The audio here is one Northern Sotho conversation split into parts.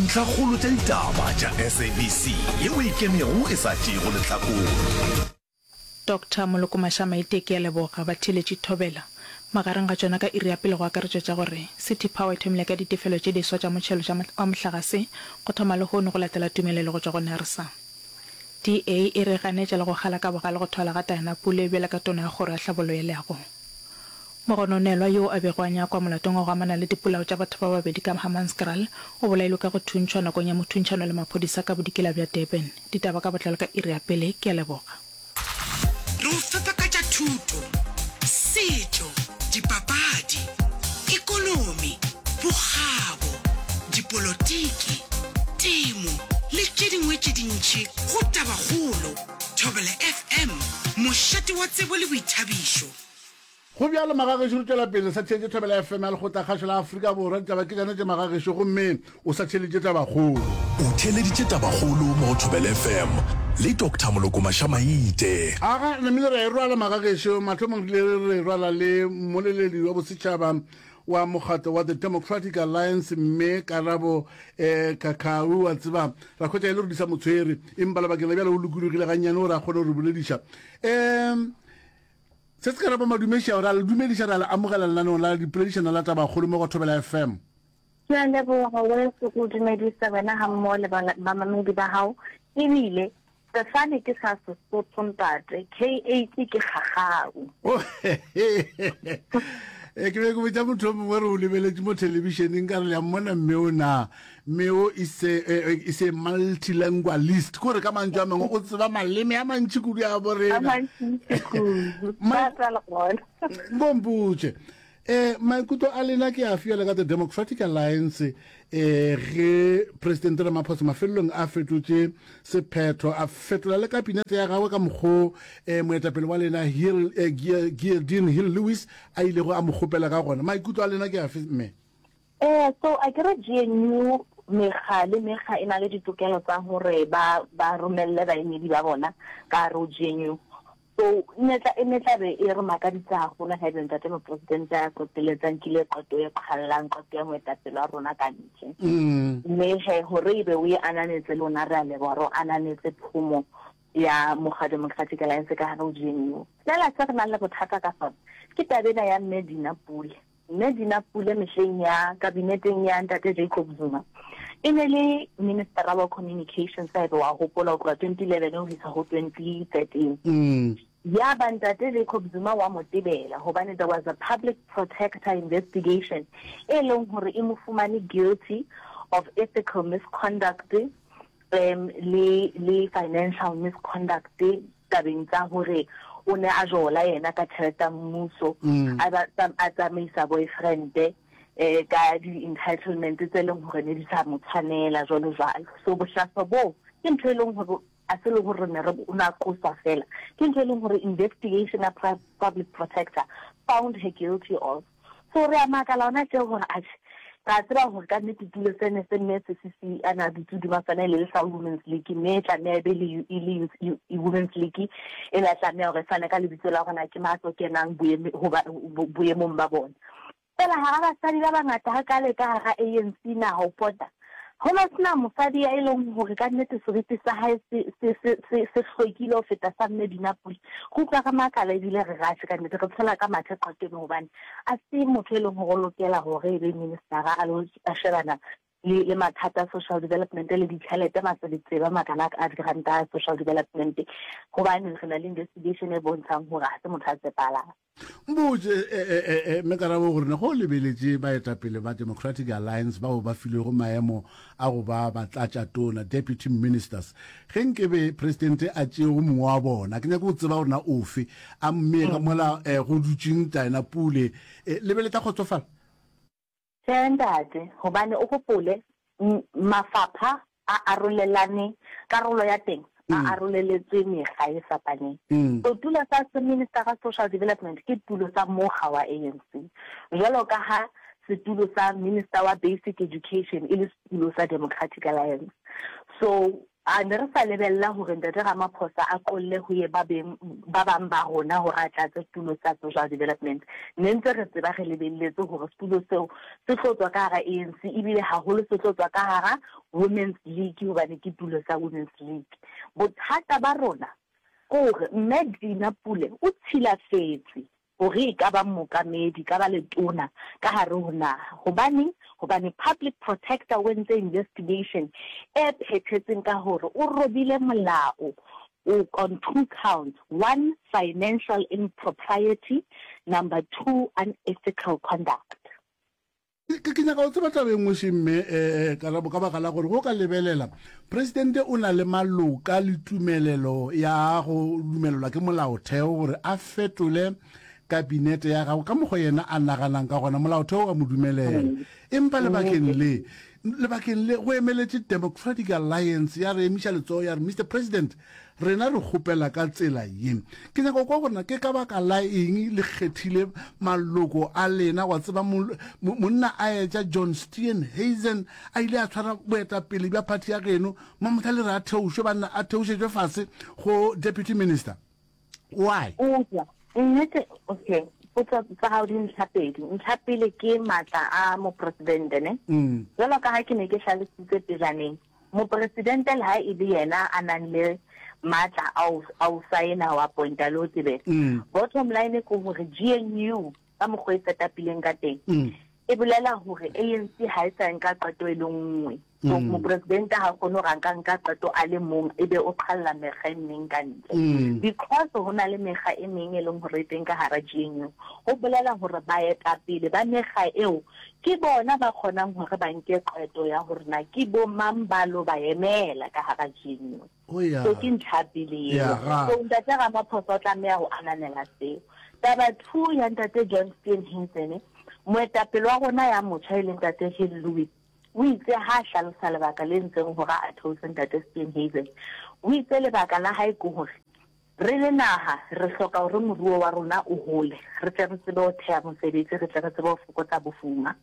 Dintlhakgolo tša ditaba tša SABC yeo e ikemego e sa tšeego lehlakore. Doctor Moloko Mashamaite ke a leboga batheeletši Thobela. Magareng ga tšona ka iri ya pele go akaretšwa tša gore City Power e thomile ka ditefelo tše diswa tša motšhelo tša wa mohlagase go thoma lehono go latela tumelelo go tšwa go NERSA. DA e re e ganetša le go kgala ka bogale go thwalwa ga Diana Pule bjalo ka tona ya kgoro ya hlabollo ya leago. Mogononelwa yoo a bego a nyakwa molatong wa go amana le dipolao tša batho ba babedi ka Hammanskraal o bolailwe ka go thuntšhwa nakong ya mothuntšhano le maphodisa ka bodikela bja Durban. Ditaba ka botlalo ka iri ya pele. Ke a leboga. Re o fepa ka tša thuto, setšo, dipapadi, ekonomi, bokgabo, dipolotiki, temo le tše dingwe tše dintši go Tabakgolo, Thobela FM, mošate wa tsebo le boithabišo. Go bjalo magagešo re tšwela pele sa theetše Thobela FM ya Lekgotla Kgašo la Afrika Borwa. Ditaba ke tšana tše magagešo gomme o sa theeleditše Tabakgolo. O theeleditše Tabakgolo mo go Thobela FM le Doctor Moloko Mashamaite. Aga, namile ra e rwala magagešo. Mathomong re ile re rwala le mmoleledi wa bosetšhaba wa mokgatlo wa The Democratic Alliance mme Karabo eh, Kakau wa tseba ra hwetša e le gore di sa mo tshwere empa lebakeng la bjale o lokologile gannyane gore a kgone go re bolediša. Um Se se ka rapa madumeši ao, ra le dumediša, ra le amogela lenaneong la dipoledišano la Tabakgolo mo go Thobela FM. Ke a leboga weso go dumedisa wena ga mmogo le bamamedi ba gago. Ebile sefane ke sa Sesotho ntate, KH ke kgagau. E, ke be ke botša motho o mongwe re o lebeletše mo thelebišeneng ka re le a mmona mme o na mme o is a, eh, eh, is a multilingualist ko re ka mantšu a mangwe o tseba maleme a mantši kudu a borena nkompotše eh maikutlo a lena ke a fiela ka the Democratic Alliance eh ge President Ramaphosa mafelelong a fetotše sephetho a fetola le kabinete ya gagwe ka mokgo eh moetapele wa lena Hill eh, Geordin Hill Lewis a ilego a mo kgopela ka gona maikutlo a lena ke afe mme Ee, so akere GNU mekga le mekga e na le ditokelo tsa hore ba ba romelle baemedi ba bona ka hare ho GNU. So ne tla e ne tla be e re makaditse haholo haebe ntate mopresidente a qetelletse a nkile qeto e qhallang qeto ya moetapele wa rona ka ntle. Mme he hore ebe o e ananetse lona re a leboha re o ananetse phomo ya Mokga Democratic Alliance ka hare ho GNU. Feela se re nang le bothata ka sona ke taba ena ya Mme Dina Pule. Mme Dina Pule mehleng ya kabineteng ya Ntate Jacob Zuma e ne le Ministera wa Communications haebe wa hopola ho tloha 2011 ho isa ho 2013. Mm. Ya ba Ntate Jacob Zuma wa mo tebela hobane there was a public protector investigation e leng hore e mo fumane guilty of ethical misconduct um le le financial misconduct tabeng tsa hore o ne a jola yena ka tjhelete ya mmuso mm. a ba a tsamaisa boyfriend eh ka di entitlement tse leng hore ne di sa mo tshwanela jwalo jwalo so bohlaswa bo ke ntho e leng hore a se le hore ne re o na qoswa fela ke ntho e leng hore investigation ya public protector found her guilty of So re a makala hona tje gore atjhe, re a tseba gore ka nnete tulo se ne se mme se a ne a dutse hodima sona e le le sa Women's League mme e tlameha e be le e le Women's League e la tlameha hore e fane ka lebitso la hore na ke mang a tlo kenang boemong ba bona. Fela hara basadi ba bangata hakale ka hara ANC naha ho pota, Ho no sena mosadi ya e leng hore ka nnete seriti sa hae se, se, se, se, se hlwekile ho feta sa Mme Dina Pule. Re utlwa re makala ebile re rashe ka nnete, re tshela ka mathe qetong hobane a se motho e leng hore o lokela hore e be ministera a lo a shebana le, le mathata a social development le ditjhelete matsebetsebe a makana a diranta a social development hobane re na le investigation e bontshang hore ha se motho a tshepahalang. Mbotše, e, e, e, e, mme karabo gore ne go lebeletše baetapele ba Democratic Alliance bao ba filwego maemo a go ba batlatšatona, deputy ministers, ge nkebe presidente a tšee go mongwe wa bona, ke nyake go tseba gore na ofe, a mmee ka mola eh, go dutšeng Diana Pule, eh, le be le tla kgotsofala? Tjhe ntate, hobane o hopole mafapha a arolelane, karolo ya teng a mm. aroleletswe mekga e fapaneng. Mm. So tulo sa Minister ga Social Development ke tulo sa mokga wa ANC. Jwalo ka ha setulo sa Minister wa Basic Education e le setulo sa Democratic Alliance. So. A ne re sa lebella hore Ntate Ramaphosa a qolle ho ye ba beng ba bang ba rona hore a tlatse setulo sa Social Development. Ne ntse re tseba re lebelletse hore setulo seo se tlo tswa ka hara ANC ebile haholo se tlo tswa ka hara Women's League hobane ke tulo sa Women's League. Bothata ba rona ke hore Mme Dina Pule o tshilafetse hore e ka ba mookamedi, e ka ba letona ka hare ho naha. Hobaneng? Hobane Public Protector o entse investigation e phethetseng ka hore o robile molao o on two counts, one financial impropriety, number two unethical conduct. Ke, ke nyaka go tseba taba e nngwe še mme eh, Karabo, ka baka la gore go ka lebelela presidente o na le maloka le tumelelo ya go dumelelwa ke molaotheo gore a fetole kabinete ya gagwe ka mokgwa yena a naganang ka gona, molaotheo wa mo dumelela. Empa lebakeng le, lebakeng le go emeletše Democratic Alliance ya re emiša letsogo ya re, Mister President, Rena re kgopela ka tsela ye. Ke nyaka go kwa gore na ke ka baka la eng le kgethile maloko a lena. Wa tseba, mo, mo, monna a etša John Steenhuisen a ile a tshwara boetapele bja phathi ya geno, mamohla le re a theošwe, banna, a theošetšwe fase go deputy minister. Why? Eupša, nnete, okay, potso tsa gago di ntlha pedi. Ntlha pele ke maatla a mopresidente, ne? Jwalo ka ha ke ne ke hlalositse pejaneng, Mopresidente le ha e le yena a nang le matla a ho a ho saena, ho appointa le ho tebela. Bottom line ke hore GNU ka mokgwa e setapileng ka teng e bolela hore ANC ha e sa nka qeto e le nngwe. So mopresidente ha kgone hore a nka nka qeto a le mong ebe o qhalla mekga e meng ka ntle. Because ho na le mekga e meng e leng hore e teng ka hara GNU, ho bolela hore baetapele ba mekga eo Ke bona ba kgonang hore ba nke qeto ya hore na ke bo mang ba lo ba emela ka hara GNU. Oh ya. So ke ntlha ya pele eo. Ya, ga. So Ntate Ramaphosa o tlameha ho ananela seo. Taba two ya Ntate John Steenhuisen, moetapele wa rona ya motjha e leng Ntate Hill Lewis, o itse ha a hlalosa lebaka le entseng hore a theose Ntate Steenhuisen, o itse lebaka la hae ke hore Re le naha, re hloka hore moruo wa rona o hole, re tle re tsebe ho theha mosebetsi, re tle re tsebe ho fokotsa bofuma.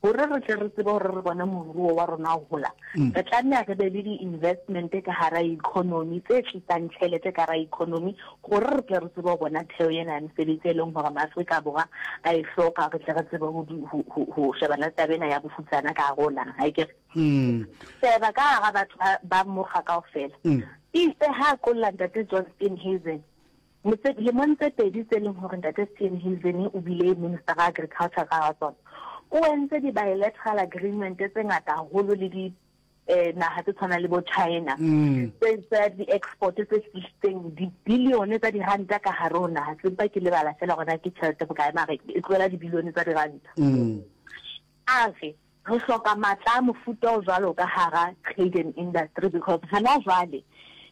Hore re tle re tsebe hore re bone moruo wa rona o hola, re tlameha re be le di-investment ka hara economy tse tlisang tjhelete ka hara economy hore re tle re tsebe ho bona theo ena ya mesebetsi e leng hore Maafrika Borwa a e hloka, re tle re tsebe ho shebana le taba ena ya bofutsana ka hare ho naha, akere? Sheba ka hara batho ba, ba mokga kaofela. Eitse ha a qolla Ntate John Steenhuisen, motse, lemong tse pedi tse leng hore Ntate Steenhuisen o bile Minister wa Agriculture ka hara tsona, o entse di-bilateral agreement tse ngata haholo le di, eh, naha tse tshwanang le bo China, tse tsa di-export tse tlisitseng dibilione tsa diranta ka hare ho naha. Se mpa ke lebala feela hore na ke tjhelete bokae, mare e tlohela dibilione tsa diranta. A re, Re hloka matla a mofuta o jwalo ka hara trade and industry because hana jwale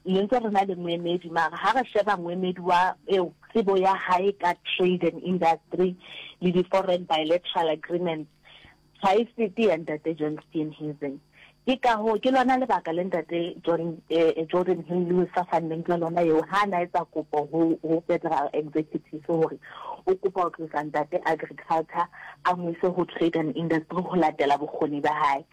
ne ntse re na le moemedi mara ha re sheba moemedi wa eo tsebo ya hae ka trade and industry le di-foreign bilateral agreements ha e fete ya Ntate John Steenhuisen. Ke ka hoo, ke lona lebaka le Ntate John, eh, Jordan Hill Lewis a fanneng ka lona eo ha a na etsa kopo ho, ho Federal Executive hore o kopa ho tlosa Ntate Agriculture a mo ise ho Trade and Industry ho latela bokgoni ba hae.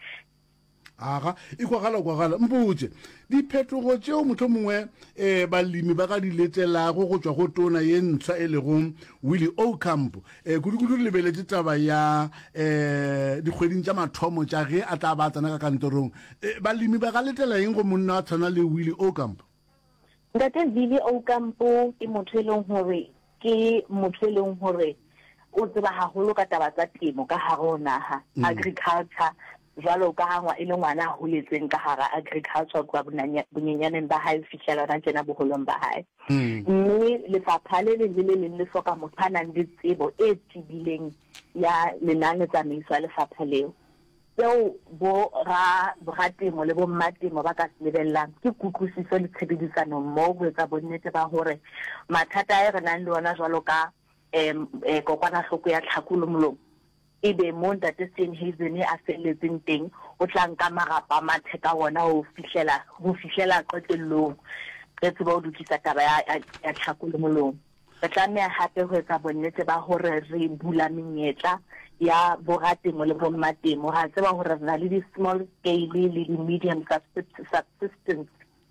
Aga, e kwagala kwagala. Mpotše, diphetogo tšeo mohlomongwe um balemi ba ka di letelago go tšwa go tona ye ntshwa e lego Willie Aucamp, um kudu-kudu re lebeletše taba ya um dikgweding tša mathomo tša ge a tla ba a tsena ka kantorong, um balemi ba ka letela eng go monna a tshwana le Willie Aucamp? Ntate Willie Aucamp ke motho e leng hore ke motho e leng hore o tseba haholo ka taba tsa temo ka hare ho naha, agriculture, Jwalo ka ha e le ngwana a holetseng ka hara agriculture ho tloha bonyenyaneng ba hae ho fihlela hona tjena boholong ba hae. Mme lefapha le leng le le leng le hloka motho a nang le tsebo e tebileng ya lenanetsamaiso ya lefapha leo. Seo bo ra boratemo le bommatemo ba ka se lebellang ke kutlwisiso le tshebedisano mmoho ho etsa bonnete ba hore mathata a e re nang le ona jwalo ka kokwanahloko ya tlhako le molomo Ebe moo Ntate Steenhuisen a felletseng teng, o tla nka marapa a mathe ka wona ho fihlela, ho fihlela qetellong re tsebe ho lokisa taba ya, ya, ya tlhako le molomo. Re tlameha hape ho etsa bonnete ba hore re bula menyetla ya boratemo le bommatemo. Re a tseba hore re na le di-small scale le di-medium subsistence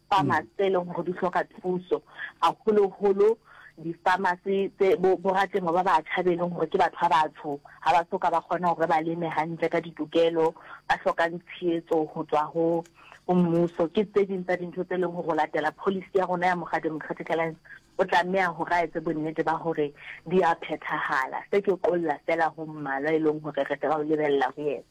farmers tse leng hore di hloka thuso, haholoholo di-farmers tse bo boratemo ba batjha be leng hore ke batho ba batsho, ha ba soka ba kgona hore ba leme hantle ka ditokelo, ba hlokang tshehetso ho tswa ho ho mmuso. Ke tse ding tsa dintho tse leng hore ho latela policy ya rona ya Mokga Democratic Alliance o tlameha hore a etse bonnete ba hore di a phethahala. Se ke qolla feela ho mmalwa e leng hore re tla o lebella ho yena.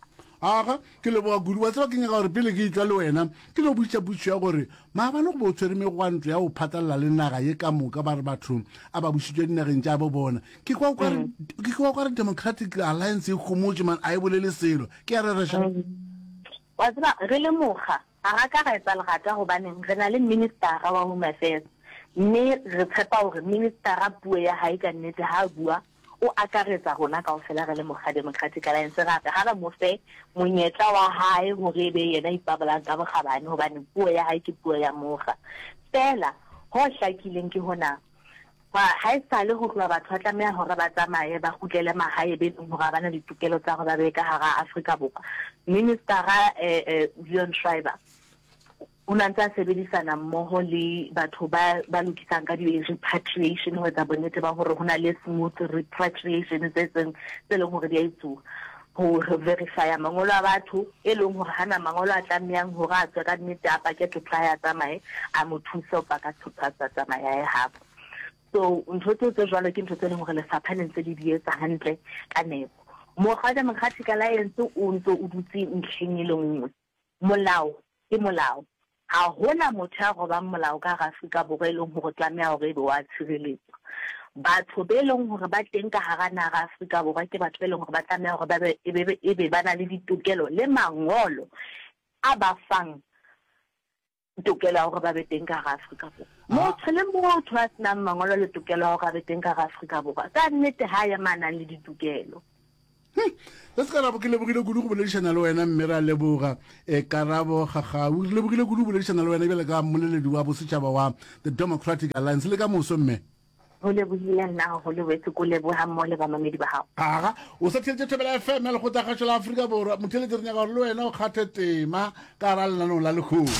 Aga, ke leboga kudu. Wa tseba, ke nyaka gore pele ke etšwa le wena, ke no botšiša potšišo ya gore maabane go be o tshwere megwanto ya go phatlalela le naga ye ka moka, ba re batho a ba bušitšwe dinageng tša bo bona. Ke kwa o ka re, ke kwa o ka re Democratic Alliance e homotše man, a e bolele selo. Ke a rereša? Wa tseba, re le mokga, Ga ra ka ra etsa lerata gobaneng re na le Ministara wa Home Affairs mme re tshepa hore Ministara puo ya hae ka nnete ha a bua o akaretsa rona kaofela re le mokga Democratic Alliance ra re ha re mo fe monyetla wa hae hore e be yena a ipabolang ka bokgabane hobane puo ya hae ke puo ya mokga. Feela ho hlakileng ke hona, Haesale ho tloha batho ba tlameha hore ba tsamaye ba kgutlele mahae be leng hore ha ba na ditokelo tsa hore ba be ka hara Afrika Borwa. Ministara Leon Schreiber o ne a ntse a sebedisana mmoho le batho ba ba lokisang ka di-repatriation ho etsa bonnete ba hore ho na le smooth repatriation tse tseng tse leng hore di a etsuwa ho verifya mangolo a batho e leng hore hana mangolo a tlamehang hore a tswe ka nnete a pake thotho a tsamaye a mo thuse ho paka thotho a tsa tsamaye a ye habo. So ntho tseo tse jwalo ke ntho tse leng hore lefapha le ntse le di etsa hantle ka nepo. Mokga wa Democratic Alliance o ntse o dutse ntlheng e le nngwe. Molao ke molao. Ha hona motho ya robang molao ka hara Afrika Borwa e leng hore o tlameha hore ebe wa tshireletswa. Batho be leng hore ba teng ka hara naha ya Afrika Borwa ke batho be leng hore ba tlameha hore ba be ebe ebe ba na le ditokelo le mangolo a ba fang tokelo ya hore ba be teng ka hara Afrika Borwa. Motho le motho a senang mangolo le tokelo ya hore a be teng ka hara Afrika Borwa, ka nnete ha a ema a nang le ditokelo. Hm, le se karabo ke lebogile kudu go boledišana le wena mme ra leboga e karabo gagau re lebogile kudu go boledišana le wena bjale ka mmoleledi wa bosetšhaba wa the democratic alliance le ka moso mme Go lebogile nna gagolo wetse ko leboga mmogo le bamamedi ba gago. Aga, o sa theletše Thobela FM ya Lekgotlakgašo la Afrika Borwa. Motheeletši re nyaka gore le wena o kgathe tema ka gara lenaneo la lehono.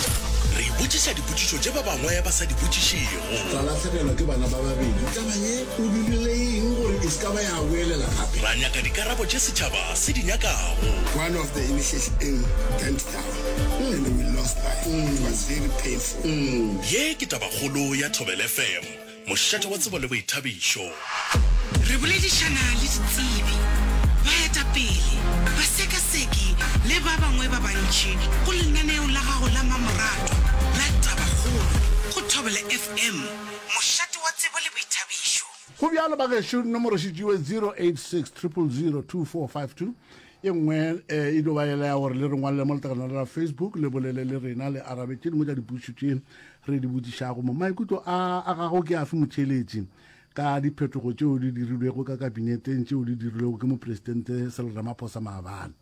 Re botšiša dipotšišo tše ba bangwe ba sa di botšišego. Ra lahlegelwa ke bana ba babedi. Taba ye o dirile eng gore e se ka ba ya boelela gape? Ra nyaka dikarabo tše setšhaba se di nyakago. One of the initiation bent down and we lost life. It was very painful. Ye ke tabakgolo ya Thobela FM. Mošate wa tsebo le boithabišo. Re boledišana le ditsebi, baetapele, basekaseki le ba bangwe ba bantši go lenaneo la gago la mmamoratwa la Tabakgolo go Thobela FM, mošate wa tsebo le boithabišo. Go bjalo bagešo, nomoro šetšiwe 086 000 2452. E nngwe e dio ba yela ya gore le re ngwalele mo letlakaleng la Facebook, le bolele le rena, le arabe tše dingwe tša dipotšišo tše re di botšišago mo. Maikutlo a a gago ke afe motheeletši ka diphetogo tšeo di dirilwego ka kabineteng tšeo di dirilwego ke Mopresidente Cyril Ramaphosa maabane?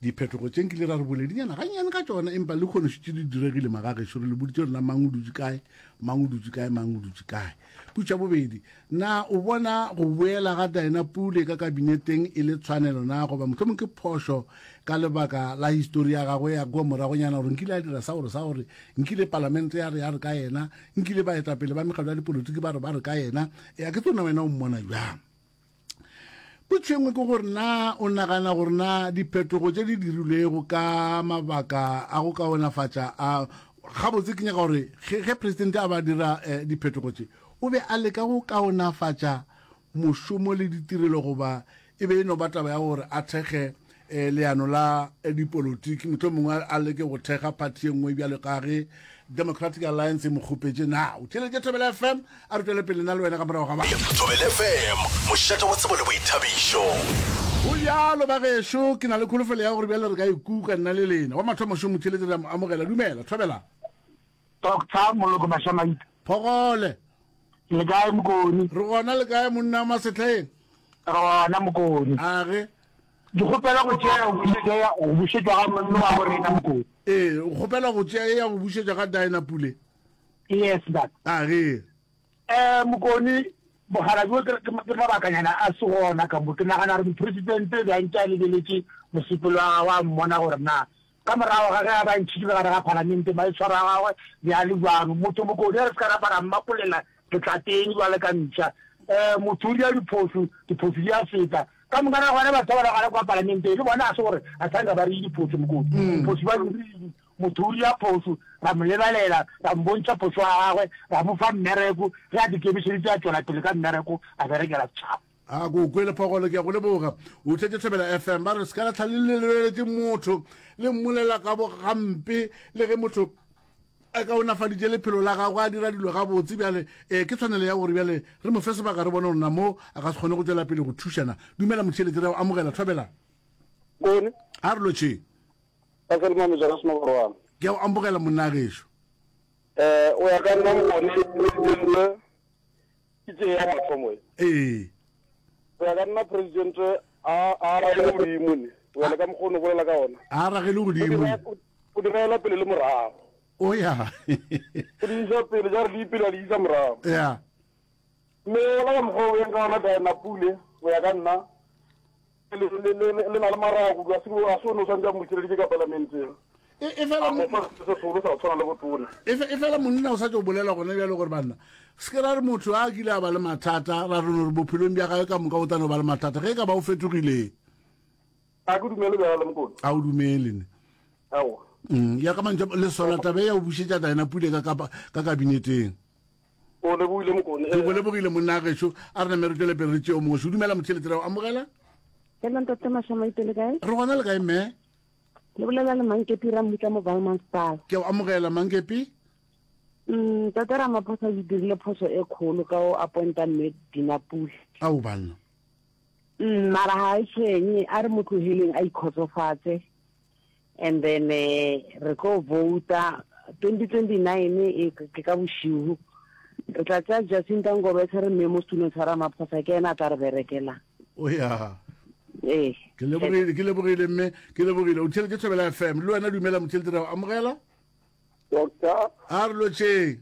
Diphetogo tše nkile ra re boledinyana gannyane ka tšona, empa le kgono šetše di diregile magagešo, re le boditše rena mang o dutše kae, mang o dutše kae, mang o dutše kae. Potšo ya bobedi, na o bona go boela ga Dinah Pule ka kabineteng e le tshwanelo na goba mohlomong ke phošo ka lebaka la histori ya gagwe ya kua moragonyana gore nkile a dira sa gore sa gore nkile palamente ya re ya re ka yena, nkile baetapele ba mekgatlo ya dipolotiki ba re ba re ka yena, ya ke tsona wena o mmona bjang? Potšo e nngwe ke gore na o nagana gore na diphetogo tše di dirilwego ka mabaka a go kaonafatša a gabotse ke nyaka gore ge, ge presidente a ba dira eh, diphetogo tše o be a leka go kaonafatša mošomo le ditirelo goba e be e no ba taba ya gore a thekge eh, leano la eh, dipolotiki mohlomongwe a leke go thekga phathi ye nngwe bjalo ka ge Democratic Alliance e mo kgopetše. Na o theeletše Thobela FM? A re tšwele pele nna le wena ka morago ga ba. Thobela FM, mošate wa tsebo le boithabišo. Go bjalo ba gešo, ke na le kholofelo ya gore bjale re ka ikuka nna le lena. Wa mathomo šo motheeletši re a mo amogela. Dumela, Thobela. Doctor Moloko Mashamaite. Phogole. Le kae Mokoni? Re gona le kae monna wa Masetlheng? Re gona Mokoni. Age. Ke kgopela go tšea ya go bušetšwa ga monna wa bo rena Mokoni. Ee, o kgopela go tšea ye ya go bušetšwa ga Dinah Pule? Yes, ntate. Age. Um Mokone, bogala bjo ke, ke, ke mabakanyana a se gona ka mo. Ke nagana gore mopresidente be a ntše a lebeletše mosepelo wa gagwe a mmona gore na ka morago ga ge a ba ntšhitšwe ka gare ga palamente maitshwaro a gagwe be a le bjang. Motho Mokone re se ka ra mmapolela ke tla teng bjale ka mpša. Um motho o dira diphošo, diphošo di a feta. Ka moka ga gona batho ba ba gona kwa palamenteng le bona a se gore a sa nka ba re diphošo Mokone. Diphošo ba dirile. Motho o dira phošo, ra mo lebalela, ra mmontšha phošo ya gagwe, ra mo fa mmereko, ge a dikemišeditše a tšwela pele ka mmereko, a berekela setšhaba. A ko kwele Phogolo, ke a go leboga. O tletše Thobela FM. Ba re se ka la tlha le lebeletše motho, le mmolela ka bo gampe, le ge motho a kaonafaditše lephelo la gagwe, a dira dilo gabotse. Bjale eh, ke tshwanelo ya gore bjale re mo fe sebaka re bone gore na mo a ka se kgone go tšwela pele go thušana. Dumela motheeletši, re a go amogela. Thobela. Kone. A re lotšheng. Ka Selma Mejara Senobarwana. Ke a go amogela monna gešo. Eh, o ya ka nna mokone presidente ke tše ya mathomo e. Ee. O ya ka nna presidente a a ragele godimo ne. O ya le ka mokgwa o no bolela ka ona. A ragele godimo. O di ragela pele le morago. O ya. O di isa pele, ja re di pele a di isa morago. Ya. Mme ola ka mokgwa o yeng ka ona Diana Pule, go ya ka nna, le, le, le, le, le na le marago kudu, a se, a se o ne o swantse a mmušireditše ka palamenteng. E, e fela, A mo fa se segolo sa go tshwana le botona. e, fe- e fela monna o sa tšo bolela gona bjalo gore banna se ke ra re motho a kile a ba le mathata ra re no re bophelong bja gagwe ka moka o tla no ba le mathata ge e ka ba o fetogile. A ke dumele bjalo Mokone. A o dumele ne? Aowa. Mm, ya ka mantšu a- le sola taba e ya go bušetša Diana Pule ka, ka, ka kabineteng. O lebogile Mokone. Ke go lebogile monna gešo. A re name re tšwele pele re tšeo mongwe. Šo dumela motheeletši ra o amogela. Hello ntate Mashamaite le kae? Re gona le kae mme? Le bolela le Mankepi Rammutla mo Valmanstal. Ke o amogela Mankepi. Mm, Ntate Ramaphosa o dirile phoso e kgolo ka o appointa mme Dina Pule. Ao banna. Mm, mara ga e tshwenye a re mo tlogeleng a ikgotsofatse. And then eh, re tlo vouta 2029 e ke ka bošiu. Re tla tšea Jacinta Ngobese re mmee mo setulong sa Ramaphosa ke ena a tla re berekelang. O ya. Ee. Ke lebogile, ke lebogile mme, ke lebogile. O theeletše Thobela FM. Le wena dumela motheeletši ra o amogela. Doctor. A re lotšheng.